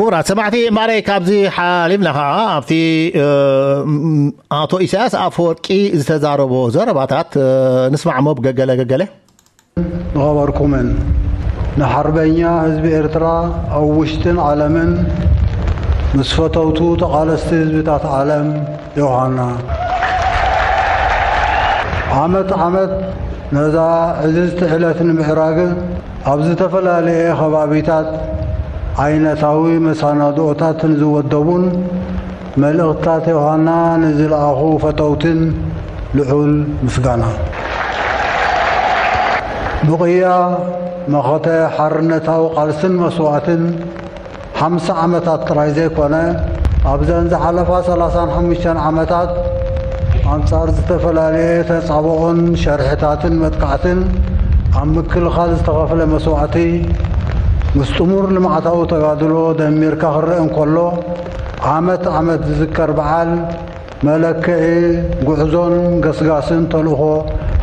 ክቡራት ሰማዕቲ፣ ማዕረይ ካብዚ ሓሊፍና ኸዓ ኣብቲ፣ እ፣ ም-፣ ኣቶ ኢሳያስ ኣፈወርቂ ዝተዛረቦ ዘረባታት፣ እ፣ ንስማዕሞ ብገገለ ገገለ። ዝኸበርኩምን ንሓርበኛ ህዝቢ ኤርትራ ኣብ ውሽጥን ዓለምን ምስ ፈተውቱ ተቓለስቲ ህዝብታት ዓለም ዮሃና፣ ዓመት ዓመት ነዛ ዕዝዝቲ ዕለት ንምዕራግ ኣብ ዝተፈላለየ ከባቢታት ዓይነታዊ መሰናድኦታት ንዝወደቡን መልእኽትታት ዮሃና ንዝለኣኹ ፈተውትን ልዑል ምስጋና። ብቕያ መኸተ ሓርነታዊ ቃልስን መስዋእትን ሓምሳ ዓመታት ጥራይ ዘይኮነ፣ ኣብዘን ዝሓለፋ ሰላሳን ሓሙሽተን ዓመታት ኣንጻር ዝተፈላለየ ተጻብኦን ሸርሕታትን መጥቃዕትን ኣብ ምክልኻል ዝተኸፍለ መስዋእቲ፣ ምስ ጥሙር ልምዓታዊ ተጋድሎ ደሚርካ ክረአ እንከሎ፣ ዓመት ዓመት ዝዝከር በዓል መለክዒ ጉዕዞን ገስጋስን ተልእኾ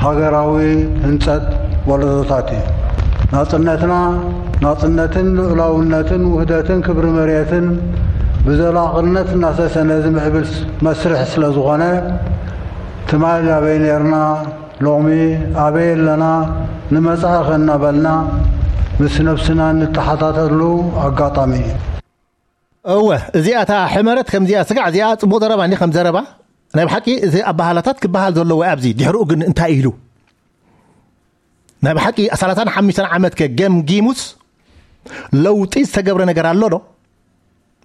ሃገራዊ ህንጸት ወለዶታት እዩ። ናጽነትና፣ ናጽነትን ልዑላውነትን ውህደትን ክብሪ መሬትን ብዘላቕነት እናሰሰነ ዝምዕብል መስርሕ ስለ ዝኾነ፣ ትማል ኣበይ ነርና፣ ሎሚ ኣበይ ኣለና፣ ንመጻኢ ከ እናበልና ምስ ነብስና እንተሓታተሉ ኣጋጣሚ እዩ። እወ፣ እዚኣ እታ ሕመረት ከምዚኣ ስጋዕ እዚኣ ጽቡቕ ዘረባ እንዲ ከም ዘረባ። ናይ ብሓቂ እዚ ኣበሃላታት ክበሃል ዘለዎ እዩ ኣብዚ። ድሕሪኡ ግን እንታይ ኢሉ? ናይ ብሓቂ ሰላሳን ሓሙሽተን ዓመት ከ ገምጊሙስ ለውጢ ዝተገብረ ነገር ኣሎ ዶ?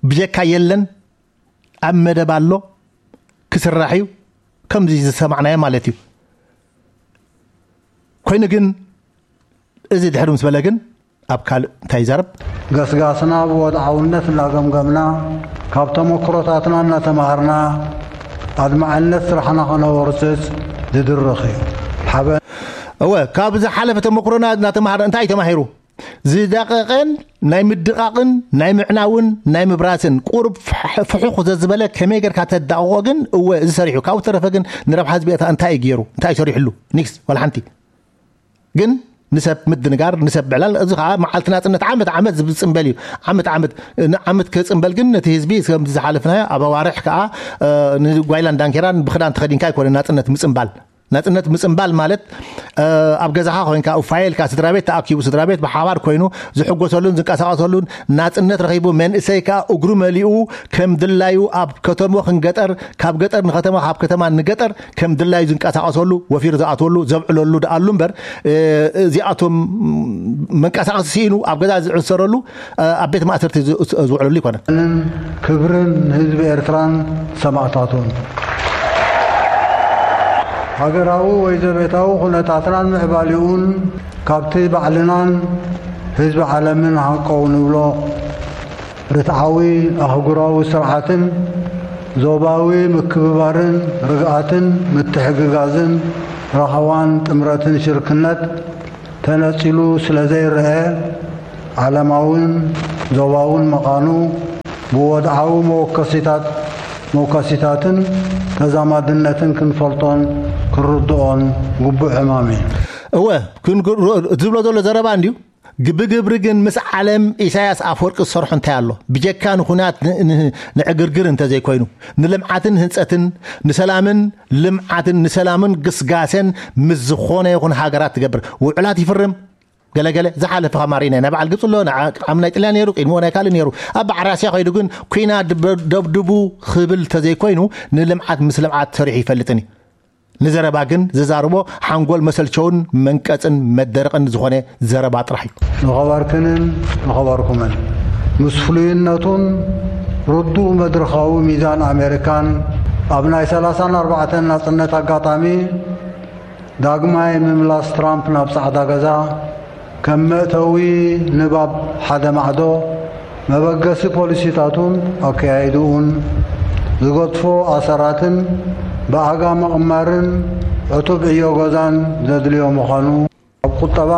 ብጀካ የለን፣ ኣብ መደብ ኣሎ፣ ክስራሕ እዩ፣ ከምዚ ዝሰማዕናዮ ማለት እዩ። ኮይኑ ግን እዚ ድሕሪ ምስ በለ ግን ኣብ ካልእ እንታይ ይዛረብ? ገስጋስና ብወድዓውነት እናገምገምና፣ ካብ ተመክሮታትና እናተማሃርና፣ ኣድማዕነት ስራሕና ከነወርጽጽ ዝድርኽ እዩ። ሓበ እወ፣ ካብ ዝሓለፈ ተመክሮና እናተማሃርና እንታይ እዩ ተማሂሩ? ዝደቐቐን ናይ ምድቓቕን ናይ ምዕናውን ናይ ምብራስን ቁሩብ ፍሕ-፣ ፍሑኽ ዘዝበለ ከመይ ጌርካ ተዳቕቖ ግን እወ እዚ ሰሪሑ። ካብኡ ተረፈ ግን ንረብሓ ህዝቢ ኤርትራ እንታይ እዩ ገይሩ? እንታይ እዩ ሰሪሕሉ? ኒክስ፣ ዋላ ሓንቲ። ግን ንሰብ ምድንጋር፣ ንሰብ ምዕላል፣ እዚ ኸዓ መዓልቲ ናጽነት ዓመት ዓመት ዝጽንበል እዩ። ዓመት ዓመት፣ ንዓመት ክጽንበል ግን ነቲ ህዝቢ ከም ዝሓለፍናዮ ኣብ ኣዋርሕ ከኣ፣ እ፣ ንጓይላን ዳንኬራን ብኽዳን ተኸዲንካ ኣይኮነን ናጽነት ምጽንባል። ናጽነት ምጽንባል ማለት፣ እ፣ ኣብ ገዛኻ ኮይንካ፣ እፋየ ኢልካ፣ ስድራ ቤት ተኣኪቡ፣ ስድራ ቤት ብሓባር ኮይኑ ዝሕጎሰሉን ዝንቀሳቐሰሉን፣ ናጽነት ረኺቡ፣ መንእሰይ ከኣ እግሩ መሊኡ ከም ድላዩ ኣብ ከተሞ ክንገጠር፣ ካብ ገጠር ንከተማ፣ ካብ ከተማ ንገጠር ከም ድላዩ ዝንቀሳቐሰሉ፣ ወፊሩ ዝኣትወሉ፣ ዘብዕለሉ ደኣሉ እምበር፣ እ፣ እዚኣቶም መንቀሳቐሲ ስኢኑ ኣብ ገዛ ዝዕሰረሉ፣ እ፣ ኣብ ቤት ማእሰርቲ ዝ-፣ ዝውዕለሉ ኣይኮነን። ክብርን ህዝቢ ኤርትራን ሰማእታቱን። ሃገራዊ ወይ ዘቤታዊ ኩነታትናን ምዕባሊኡን ካብቲ ባዕልናን ህዝቢ ዓለምን ሃንቀው ንብሎ ርትዓዊ ኣህጉራዊ ስርዓትን ዞባዊ ምክብባርን ርግኣትን ምትሕግጋዝን ራህዋን ጥምረትን ሽርክነት ተነጺሉ ስለ ዘይረአ፣ ዓለማውን ዞባውን መቓኑ ብወድዓዊ መወከሲታት፣ መወከሲታትን ተዛማድነትን ክንፈልጦን ክንርድኦን ግቡእ ዕማም እዩ። እወ፣ ክን-፣ ዝብሎ ዘሎ ዘረባ እንድዩ። ግ-፣ ብግብሪ ግን ምስ ዓለም ኢሳያስ ኣፈወርቂ ዝሰርሖ እንታይ ኣሎ? ብጀካ ንኹናት ን-፣ ን-፣ ንዕግርግር እንተዘይኮይኑ፣ ንልምዓትን ህንጸትን፣ ንሰላምን ልምዓትን፣ ንሰላምን ግስጋሴን ምስ ዝኾነ ይኹን ሃገራት ትገብር ውዕላት ይፍርም። ገለገለ ዝሓለፈ ከማሪና ናይ በዓል ግብፂ ኣሎ፣ ንዓ-፣ ዓም ናይ ጥልያን ነይሩ፣ ቅድሚኡ ናይ ካልእ ነይሩ። ኣብ በዓል ራስያ ከይዱ ግን ኩናት ደብ-፣ ደብድቡ ክብል እንተዘይኮይኑ፣ ንልምዓት ምስ ልምዓት ሰሪሑ ይፈልጥን እዩ። ንዘረባ ግን ዝዛርቦ ሓንጎል መሰልቸውን መንቀጽን መደረቕን ዝኾነ ዘረባ ጥራሕ እዩ። ንኸበርክንን ንኸበርኩምን ምስ ፍሉይነቱን ርዱእ መድረኻዊ ሚዛን ኣሜሪካን ኣብ ናይ ሰላሳን ኣርባዕተን ናጽነት ኣጋጣሚ ዳግማይ ምምላስ ትራምፕ ናብ ጻዕዳ ገዛ ከም መእተዊ ንባብ ሓደ ማዕዶ መበገሲ ፖሊሲታቱን ኣከያይድኡን ዝገድፎ ኣሰራትን ብኣጋ ምቕማርን ዕቱብ ዕዮ ገዛን ዘድልዮ ምዃኑ ኣብ ቁጠባ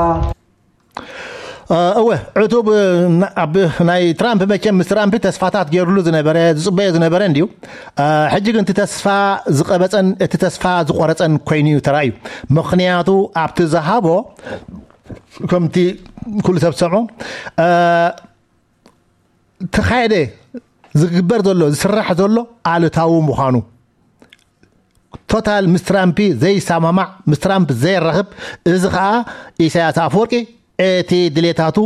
እ፣ እወ፣ ዕቱብ፣ እ፣ ና-፣ ኣብ ናይ ትራምፕ መቸም ምስ ትራምፕ ተስፋታት ገይሩሉ ዝነበረ፣ ዝጽበዮ ዝነበረ እንድዩ። እ፣ ሕጂ ግን እቲ ተስፋ ዝቐበጸን እቲ ተስፋ ዝቖረጸን ኮይኑ እዩ ተራእዩ። ምኽንያቱ ኣብቲ ዝሃቦ ከምቲ ኩሉ ሰብ ዝሰምዖ፣ እ፣ ተኻየደ ዝግበር ዘሎ ዝስራሕ ዘሎ ኣሉታዊ ምዃኑ፣ ቶታል ምስ ትራምፕ ዘይሰማማዕ፣ ምስ ትራምፕ ዘይራኸብ፣ እዚ ኸኣ ኢሳያስ ኣፈወርቂ እቲ ድሌታቱ፣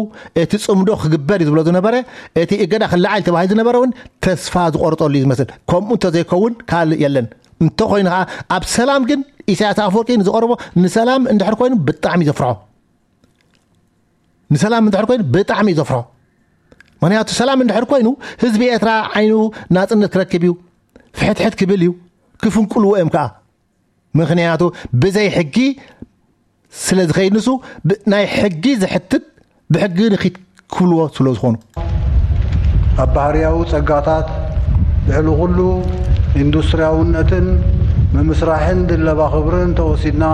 እቲ ጽምዶ ክግበር እዩ ዝብሎ ዝነበረ፣ እቲ እገዳ ክለዓል ተባሂሉ ዝነበረ እውን ተስፋ ዝቆርጠሉ እዩ ዝመስል። ከምኡ እንተዘይከውን ካልእ የለን። እንተኾይኑ ኸኣ ኣብ ሰላም ግን ኢሳያስ ኣፈወርቂ ንዝቐርቦ ንሰላም እንድሕር ኮይኑ ብጣዕሚ እዩ ዘፍርሖ። ንሰላም እንድሕር ኮይኑ ብጣዕሚ እዩ ዘፍርሖ። ምኽንያቱ ሰላም እንድሕር ኮይኑ ህዝቢ ኤርትራ ዓይኑ ናጽነት ክረክብ እዩ፣ ፍሕትሕት ክብል እዩ፣ ክፍንቁልዎ እዮም ከኣ። ምኽንያቱ ብዘይ ሕጊ ስለ ዝኸይድ ንሱ ብ-፣ ናይ ሕጊ ዘሕትት ብሕጊ ንኺድ ክብልዎ ስለ ዝኾኑ። ኣብ ባህርያዊ ጸጋታት ልዕሊ ኩሉ ኢንዱስትርያውነትን ምምስራሕን ድለባ ክብርን ተወሲድና፣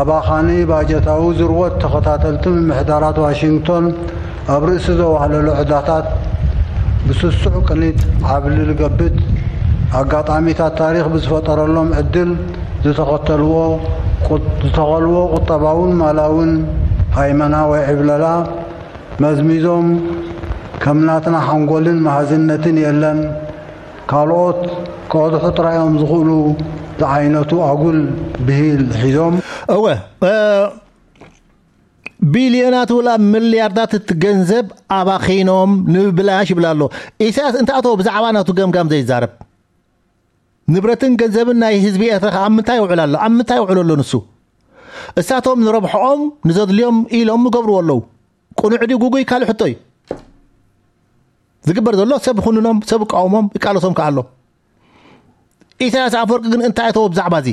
ኣባኻኒ ባጀታዊ ዝርወት ተኸታተልቲ ምምሕዳራት ዋሽንግቶን ኣብ ርእሲ ዘዋህለሎ ዕዳታት ብስሱዕ ቅኒት ዓብሊ ልገብት ኣጋጣሚታት ታሪኽ ብዝፈጠረሎም ዕድል ዝተኸተልዎ ቁ-፣ ዝተኸልዎ ቁጠባውን ማላውን ሃይመና ወይ ዕብለላ መዝሚዞም ከም ናትና ሓንጎልን መሃዝነትን የለን፣ ካልኦት ክቐድሑ ጥራይ እዮም ዝኽእሉ ዝዓይነቱ ኣጉል ብሂል ሒዞም። እወ፣ እ፣ ቢልዮናት ወላ ሚልያርዳት እቲ ገንዘብ ኣባኺኖም ንብላሽ ይብል ኣሎ። ኢሳያስ እንተ ኣቶ ብዛዕባ ናቱ ገምጋም ዘይዛረብ፣ ንብረትን ገንዘብን ናይ ህዝቢ ኤርትራ ኣብ ምንታይ ይውዕል ኣሎ? ኣብ ምንታይ ይውዕል ኣሎ ንሱ? እሳቶም ንረብሕኦም ንዘድልዮም ኢሎም ይገብርዎ ኣለዉ። ቅኑዕ ድዩ ግጉይ ካልእ ሕቶ እዩ። ዝግበር ዘሎ ሰብ ይኹንኖም፣ ሰብ ይቃወሞም፣ ይቃለሶም ከኣ ኣሎ። ኢሳያስ ኣፈወርቂ ግን እንታይ እተወ ብዛዕባ እዚ?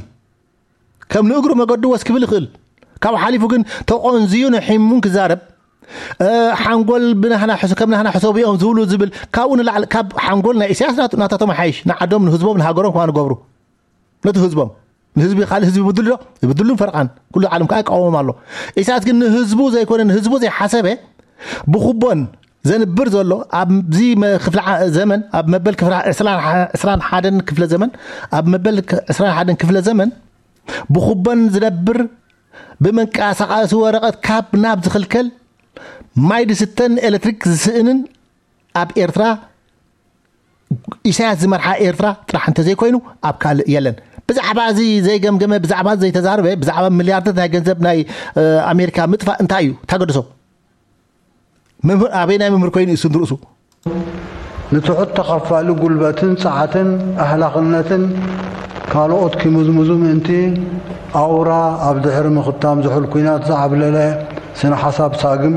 ከም ንእግሩ መገዱ ወስ ክብል ይኽእል። ካብ ሓሊፉ ግን ተቆንዝዩ ንሒሙን ክዛረብ፣ እ፣ ሓንጎል ብናህና ሕሰ-፣ ከም ናህና ሕሰቡ እዮም ዝብሉ ዝብል፣ ካብኡ ንላዕሊ ካብ ሓንጎል ናይ ኢሳያስ ናቱ-፣ ናታቶም ይሓይሽ። ንዓዶም፣ ንህዝቦም፣ ንሃገሮም ከማን ይገብሩ። ነቲ ህዝቦም። ንህዝቢ፣ ካልእ ህዝቢ ይብድሉ ዶ? ይብድሉን ፈርቓን። ኩሉ ዓለም ከኣ ይቃወሞም ኣሎ። ኢሳያስ ግን ንህዝቡ ዘይኮነ፣ ንህዝቡ ዘይሓሰበ፣ ብኩቦን ዘንብር ዘሎ፣ ኣብዚ መ-፣ ክፍለ ዓ-፣ ዘመን፣ ኣብ መበል ክፍለ ዓ-፣ ዕስራን ሓ-፣ ዕስራን ሓደን ክፍለ ዘመን፣ ኣብ መበል ክ-፣ ዕስራን ሓደን ክፍለ ዘመን፣ ብኩቦን ዝነብር፣ ብመንቀሳቐሲ ወረቐት ካብ ናብ ዝኽልከል፣ ማይ ዝስተን ኤሌክትሪክ ዝስእንን ኣብ ኤርትራ ኢሳያስ ዝመርሓ ኤርትራ ጥራሕ እንተዘይኮይኑ ኣብ ካልእ የለን። ብዛዕባ እዚ ዘይገምገመ፣ ብዛዕባ እዚ ዘይተዛረበ፣ ብዛዕባ ሚልያርድታት ናይ ገንዘብ ናይ፣ እ፣ ኣሜሪካ ምጥፋእ እንታይ እዩ? እንታይ ገደሶ? መምህር ኣበይ ናይ መምህር ኮይኑ እዩ እሱ ንርእሱ? ንትሑት ተኸፋሊ ጉልበትን ጸዓትን ኣህላኽነትን ካልኦት ኪምዝምዙ ምእንቲ ኣውራ ኣብ ድሕሪ ምኽታም ዝሑል ኲናት ዝዓብለለ ስነ ሓሳብ ሳግም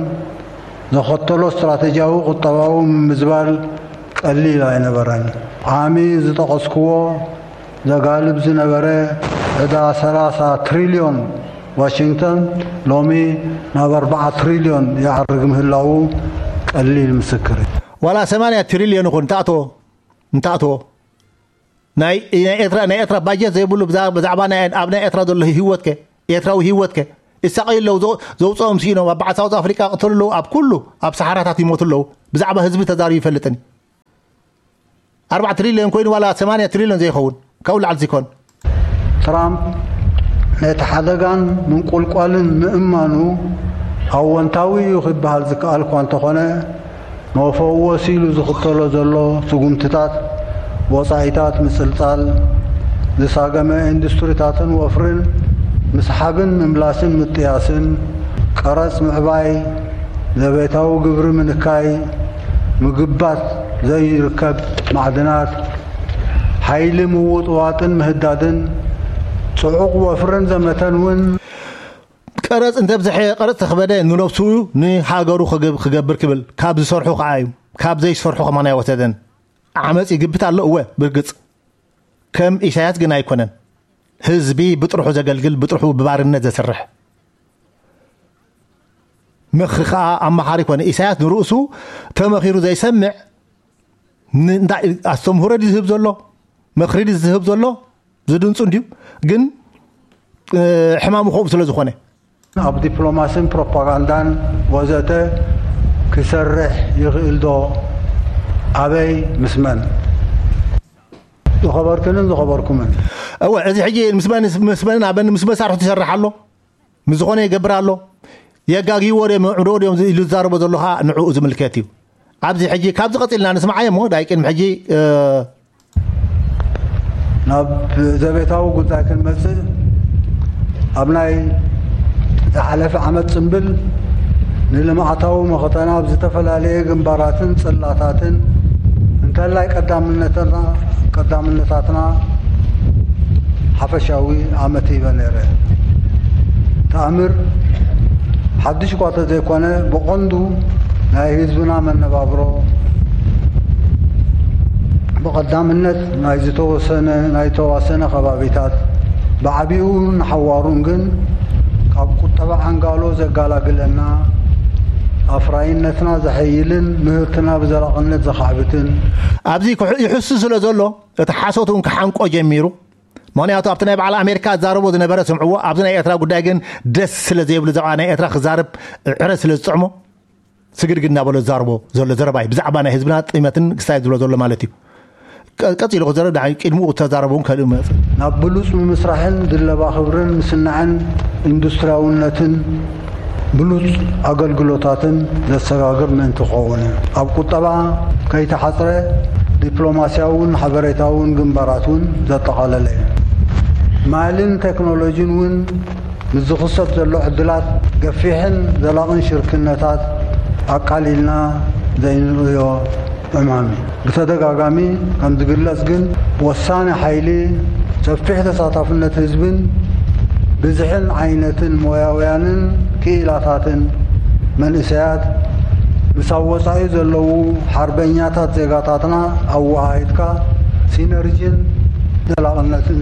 ዘኸተሎ ስትራተጂያዊ ቁጠባዊ ምምዝባል ቀሊል ኣይነበረን። ዓሚ ዝጠቐስክዎ ዘጋልብ ዝነበረ ዕዳ ሰላሳ ትሪልዮን ዋሽንግተን ሎሚ ናብ ኣርባዓ ትሪልዮን ይዓርግ ምህላዉ ቀሊል ምስክር እዩ። ዋላ ሰማንያ ትሪልዮን ይኹን እንተኣትዎ፣ እንተኣትዎ፣ ናይ፣ ናይ ኤርትራ፣ ናይ ኤርትራ ባጀት ዘይብሉ ብዛ-፣ ብዛዕባ ናይ፣ ኣብ ናይ ኤርትራ ዘሎ ህይወትከ፣ ኤርትራዊ ህይወትከ፣ ይሳቐዩ ኣለዉ። ዘው-፣ ዘውፅኦም ስኢኖም፣ ኣብ በዓል ሳውዝ ኣፍሪቃ ይቕተሉ ኣለዉ፣ ኣብ ኩሉ፣ ኣብ ሰሓራታት ይሞቱ ኣለዉ። ብዛዕባ ህዝቢ ተዛሪቡ ይፈልጥን። ኣርባዓ ትሪልዮን ኮይኑ ዋላ ሰማንያ ትሪልዮን ዘይኸውን፣ ካብኡ ላዕሊ ዘይኮን። ትራምፕ ነቲ ሓደጋን ምንቁልቋልን ምእማኑ ኣወንታዊ እዩ ክበሃል ዝከኣል እኳ እንተኾነ፣ መፈወሲ ኢሉ ዝኽተሎ ዘሎ ስጉምትታት፣ ወጻኢታት ምጽልጻል፣ ዝሳገመ ኢንዱስትሪታትን ወፍርን ምስሓብን ምምላስን ምጥያስን፣ ቀረጽ ምዕባይ፣ ዘቤታዊ ግብሪ ምንካይ፣ ምግባት ዘይርከብ ማዕድናት፣ ሓይሊ ምውጥዋጥን ምህዳድን፣ ጽዑቕ ወፍርን ዘመተን እውን። ቀረጽ እንተብዝሐ፣ ቀረጽ ተኽበደ ንነብሱ ንሃገሩ ክገብ-፣ ክገብር ክብል፣ ካብ ዝሰርሑ ከኣ እዩ፣ ካብ ዘይሰርሑ ከማን ኣይወሰደን። ዓመጽ ይግብት ኣሎ፣ እወ፣ ብርግጽ። ከም ኢሳያስ ግን ኣይኮነን። ህዝቢ ብጥርሑ ዘገልግል፣ ብጥርሑ ብባርነት ዘስርሕ። ምኽሪ ከኣ ኣማኻሪ ኮነ። ኢሳያስ ንርእሱ ተመኺሩ ዘይሰምዕ፣ ን-፣ እንታይ ኣስተምህሮ ድዩ ዝህብ ዘሎ? ምኽሪ ድዩ ዝህብ ዘሎ? ዝድንጹ እንድዩ። ግን፣ እ፣ ሕማሙ ከምኡ ስለ ዝኾነ። ኣብ ዲፕሎማስን ፕሮፓጋንዳን ወዘተ ክሰርሕ ይኽእል ዶ? ኣበይ? ምስ መን? ዝኸበርክንን ዝኸበርኩምን። እወ፣ እዚ ሕጂ ምስ መን፣ ምስ መንን ኣበን ምስ መሳርሕቱ ይሰርሕ ኣሎ? ምስ ዝኾነ ይገብር ኣሎ? የጋግይዎ ድዮም፣ የዕንድዎ ድዮም ኢሉ ዝዛረቦ ዘሎ ኸኣ ንዕኡ ዝምልከት እዩ። ኣብዚ ሕጂ ካብዚ ቀፂልና ንስምዓዮ እሞ ዳይ ቅድሚ ሕጂ ናብ ዘቤታዊ ጉዳይ ክንመጽእ፣ ኣብ ናይ ዝሓለፈ ዓመት ጽምብል ንልምዓታዊ መኸተና ኣብ ዝተፈላለየ ግንባራትን ጽላታትን እንተላይ ቀዳምነትና ቀዳምነታትና ሓፈሻዊ ኣመት ሂበ ነይረ። ተኣምር ሓድሽ እኳ ተዘይኮነ፣ ብቐንዱ ናይ ህዝብና መነባብሮ፣ ብቐዳምነት ናይ ዝተወሰነ፣ ናይ ተዋሰነ ከባቢታት፣ ብዓቢኡ ንሓዋሩን ግን ካብ ቁጠባ ዓንጋሎ ዘጋላግለና፣ ኣፍራይነትና ዘሐይልን ምህርትና ብዘላቕነት ዘኻዕብትን፣ ኣብዚ ክሑ-፣ ይሕሱ ስለ ዘሎ፣ እቲ ሓሶት እውን ክሓንቆ ጀሚሩ። ምኽንያቱ ኣብቲ ናይ በዓል ኣሜሪካ ዝዛረቦ ዝነበረ ስምዕዎ፣ ኣብዚ ናይ ኤርትራ ጉዳይ ግን ደስ ስለ ዘይብሉ፣ ብዛዕባ ናይ ኤርትራ ክዛረብ ዕረ ስለ ዝጥዕሞ፣ ስግድግድ እናበሎ ዝዛረቦ ዘሎ ዘረባ እዩ። ብዛዕባ ናይ ህዝብና ጥመትን ክስታይ ዝብሎ ዘሎ ማለት እዩ። ቀ-፣ ቀጺሉ ክዘረብ፣ ድሓር ቅድሚኡ ተዛረቡ እውን ከልእ መጽእ። ናብ ብሉጽ ምምስራሕን ድለባ ክብርን ምስናዕን ኢንዱስትሪያውነትን ብሉጽ ኣገልግሎታትን ዘሰጋግር ምእንቲ ክኸውን እዩ። ኣብ ቁጠባ ከይተሓጽረ ዲፕሎማስያውን ሓበሬታውን ግንባራት እውን ዘጠቓለለ እዩ። ማልን ቴክኖሎጂን እውን ምስ ዝኽሰት ዘሎ ዕድላት ገፊሕን ዘላቕን ሽርክነታት ኣቃሊልና ዘይንርእዮ ዕማም እዩ። ብተደጋጋሚ ከም ዝግለጽ ግን፣ ወሳኒ ሓይሊ ሰፊሕ ተሳታፍነት ህዝብን ብዝሕን ዓይነትን ሞያውያንን ክኢላታትን መንእሰያት ምስ ኣብ ወጻኢ ዘለዉ ሓርበኛታት ዜጋታትና ኣወሃሂድካ ሲነርጂን ዘላቕነትን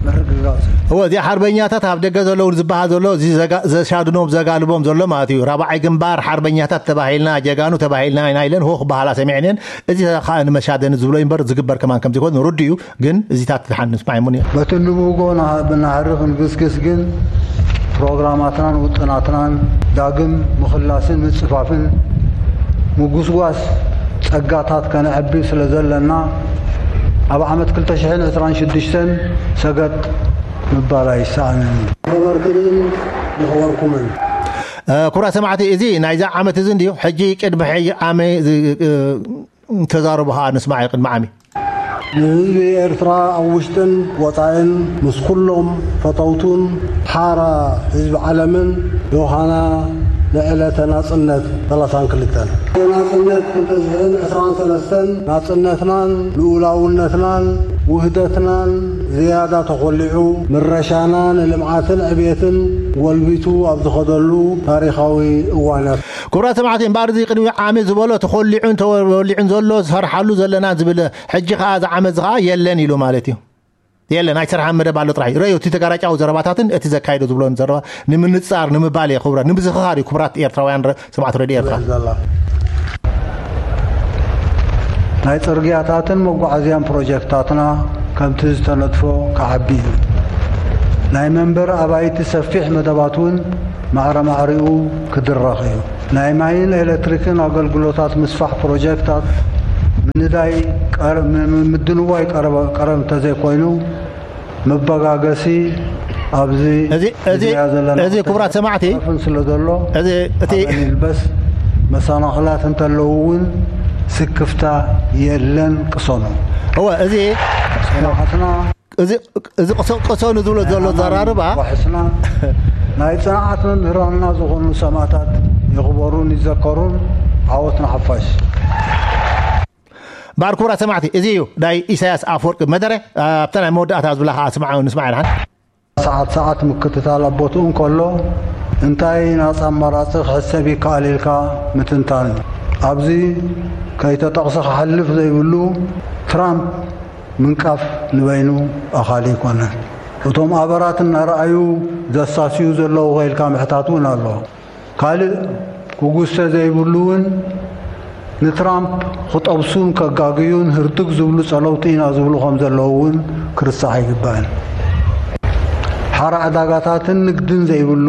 ምርግጋጽ እዩ። እወ፣ እዚ ሓርበኛታት ኣብ ደገ ዘለዉ ዝበሃል ዘሎ፣ እዚ ዘጋ-፣ ዘሻድኖም ዘጋልቦም ዘሎ ማለት እዩ። ራብዓይ ግንባር ሓርበኛታት ተባሂልና፣ ጀጋኑ ተባሂልና ኢና ኢለን ሆ ክበሃላ ሰሚዐን እየን። እዚ ከዓ ንመሻደኒ ዝብሎ እምበር ዝግበር ከማን ከም ዘይኮነ ርዱእ እዩ። ግን እዚታት ድሓን ንስማዕ እሞ ንየ-፣ በቲ ንብህጎ ና-፣ ብናህሪ ክንግስግስ ግን ፕሮግራማትናን ውጥናትናን ዳግም ምኽላስን ምጽፋፍን ምጉስጓስ ጸጋታት ከነዕቢ ስለ ዘለና፣ ኣብ ዓመት ክልተ ሽሕን ዕስራን ሽዱሽተን ሰገጥ ምባል ኣይሰኣንን እዩ። ነበርክንን ንኽበርኩምን። እ፣ ክቡራት ሰማዕቲ፣ እዚ ናይዛ ዓመት እዚ እንድዩ። ሕጂ ቅድሚ ሕጂ ዓመ-፣ እ፣ ተዛረቡ ኸዓ ንስማዕ ቅድሚ ዓሚ። ንህዝቢ ኤርትራ ኣብ ውሽጥን ወጻኢን ምስ ኩሎም ፈተውቱን ሓራ ህዝቢ ዓለምን ዮሃና ንዕለተ ናጽነት ሰላሳን ክልተን። ናጽነት ክልተ ሽሕን ዕስራን ሰለስተን ናጽነትናን ልኡላውነትናን ውህደትናን ዝያዳ ተኾሊዑ፣ ምረሻና ንልምዓትን ዕብየትን ጎልቢቱ ኣብ ዝኸደሉ ታሪኻዊ እዋናት። ክቡራት ሰማዕቲ፣ እምበኣር እዚ ቅድሚ ዓሚ ዝበሎ ተኾሊዑን ተወሊዑን ዘሎ ዝሰርሓሉ ዘለና ዝብል፣ ሕጂ ኸዓ እዚ ዓመት እዚ ኸዓ የለን ኢሉ ማለት እዩ። የለን፣ ኣይሰርሓን መደብ ኣሎ ጥራሕ እዩ። ረዮ፣ እቲ ተጋራጫዊ ዘረባታትን እቲ ዘካይዶ ዝብሎን ዘረባ ንምንጻር፣ ንምባል እየ ክቡራት፣ ንምዝኽኻር እዩ ክቡራት ኤርትራውያን ረ-፣ ሰማዕቲ ሬድዮ ኤርትራ። ዘላ ናይ ጽርግያታትን መጓዓዝያን ፕሮጀክታትና ከምቲ ዝተነድፎ ክዓቢ እዩ። ናይ መንበሪ ኣባይቲ ሰፊሕ መደባት እውን ማዕረ ማዕሪኡ ክድረኽ እዩ። ናይ ማይን ኤሌክትሪክን ኣገልግሎታት ምስፋሕ ፕሮጀክታት ምንዳይ ቀር-፣ ም-፣ ም-፣ ምድንዋይ ቀረበ-፣ ቀረብ እንተዘይኮይኑ፣ መበጋገሲ ኣብዚ እዚ፣ እዚ፣ ዝያ ዘለና እዚ ክቡራት ሰማዕቲ፣ ን ስለ ዘሎ፣ እዚ እቲ ሓበን ይልበስ፣ መሰናኽላት እንተለዉ እውን ስክፍታ የለን፣ ቅሰኑ። እወ፣ እዚ ጽንዓትና እዚ፣ እዚ ቅሰ-፣ ቅሰኑ ዝብሎ ዘሎ ዘራርባ ዋሕስና ናይ ጽንዓት መምህራንና ዝኾኑ ሰማእታት ይኽበሩን ይዘከሩን። ዓወት ንሓፋሽ። እምበኣር ክቡራት ሰማዕቲ፣ እዚ እዩ ናይ ኢሳያስ ኣፈወርቂ መደረ። ኣብታ ናይ መወዳእታ ዝብላ ኸዓ ስምዓ-፣ ንስማዕ ኢና። ሰዓት ሰዓት ምክትታል ኣብ ቦትኡ እንከሎ፣ እንታይ ናጻ ኣማራጺ ክሕሰብ ይከኣል ኢልካ ምትንታን እዩ። ኣብዚ ከይተጠቕሰ ክሓልፍ ዘይብሉ፣ ትራምፕ ምንቃፍ ንበይኑ ኣኻሊ ኣይኮነን። እቶም ኣበራት እናረኣዩ ዘሳስዩ ዘለዉ ከ ኢልካ ምሕታት እውን ኣሎ። ካልእ ክጉሰ ዘይብሉ እውን፣ ንትራምፕ ክጠብሱን ከጋግዩን ህርድግ ዝብሉ ጸለውቲ ኢና ዝብሉ ከም ዘለዉ እውን ክርስዕ ኣይግባእን። ሓራ ዕዳጋታትን ንግድን ዘይብሉ፣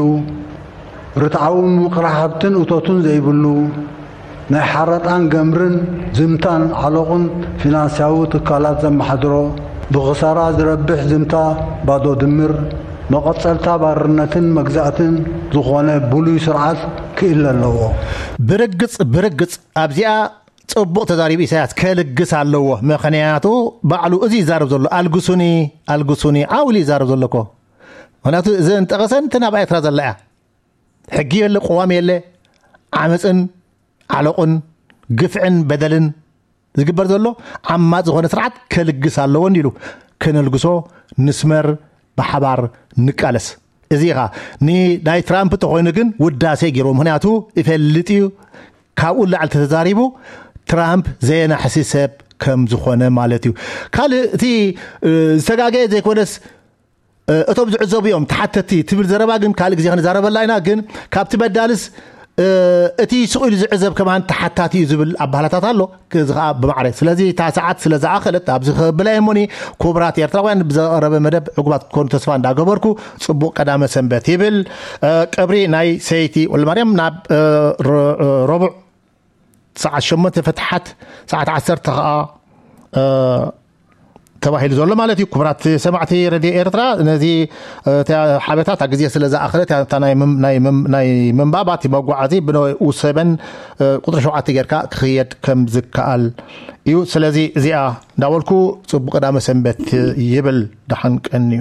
ርትዓዊ ምምቕራሕ ሃብትን እቶትን ዘይብሉ፣ ናይ ሓረጣን ገምርን ዝምታን ዓሎቕን ፊናንስያዊ ትካላት ዘመሓድሮ፣ ብኽሳራ ዝረብሕ ዝምታ ባዶ ድምር፣ መቐጸልታ ባርነትን መግዛእትን ዝኾነ ብሉይ ስርዓት ክእለ ኣለዎ። ብርግጽ ብርግጽ ኣብዚኣ ጽቡቕ ተዛሪቡ ኢሳያስ። ከልግስ ኣለዎ። ምኽንያቱ ባዕሉ እዚ ይዛረብ ዘሎ፣ ኣልግሱኒ፣ ኣልግሱኒ ዓው ኢሉ ይዛረብ ዘሎ እኮ። ምኽንያቱ እዚ እንጠቐሰን እቲ ናብ ኤርትራ ዘላ እያ። ሕጊ የለ፣ ቅዋም የለ፣ ዓመፅን ዓለቑን ግፍዕን በደልን ዝግበር ዘሎ ዓማፅ ዝኾነ ስርዓት ከልግስ ኣለዎ እንዲሉ። ከነልግሶ፣ ንስመር፣ ብሓባር ንቃለስ። እዚ ኢኻ። ንናይ ትራምፕ ተኾይኑ ግን ውዳሴ ገይርዎ። ምኽንያቱ ይፈልጥ እዩ፣ ካብኡ ላዕሊ ተተዛሪቡ ትራምፕ ዘየናሕሲ ሰብ ከም ዝኾነ ማለት እዩ። ካልእ እቲ ዝተጋገየ ዘይኮነስ እቶም ዝዕዘቡ እዮም ተሓተቲ ትብል ዘረባ ግን ካልእ ግዜ ክንዛረበላ ኢና። ግን ካብቲ በዳልስ እቲ ስቕ ኢሉ ዝዕዘብ ከማን ተሓታቲ እዩ ዝብል ኣባህላታት ኣሎ። እዚ ከዓ ብማዕረ። ስለዚ እታ ሰዓት ስለ ዝኣኸለት ኣብዚ ክብላ እየ እሞኒ፣ ክቡራት ኤርትራውያን ብዘቐረበ መደብ ዕጉባት ክትኮኑ ተስፋ እንዳገበርኩ፣ ጽቡቕ ቀዳመ ሰንበት ይብል። ቀብሪ ናይ ሰይቲ ወልደማርያም ናብ ረቡዕ ሰዓት ሸሞንተ ፍትሓት፣ ሰዓት ዓሰርተ ከዓ ተባሂሉ ዘሎ ማለት እዩ። ክቡራት ሰማዕቲ ረድዮ ኤርትራ፣ ነዚ ሓበታ እታ ግዜ ስለ ዝኣኸለት፣ እታ ናይ ምንባብ፣ እቲ መጓዓዚ ብንኡ ሰበን ቁፅሪ ሸውዓተ ጌርካ ክኽየድ ከም ዝከኣል እዩ። ስለዚ እዚኣ እንዳበልኩ፣ ፅቡቅ ቀዳመ ሰንበት ይብል። ደሓን ቀንዩ።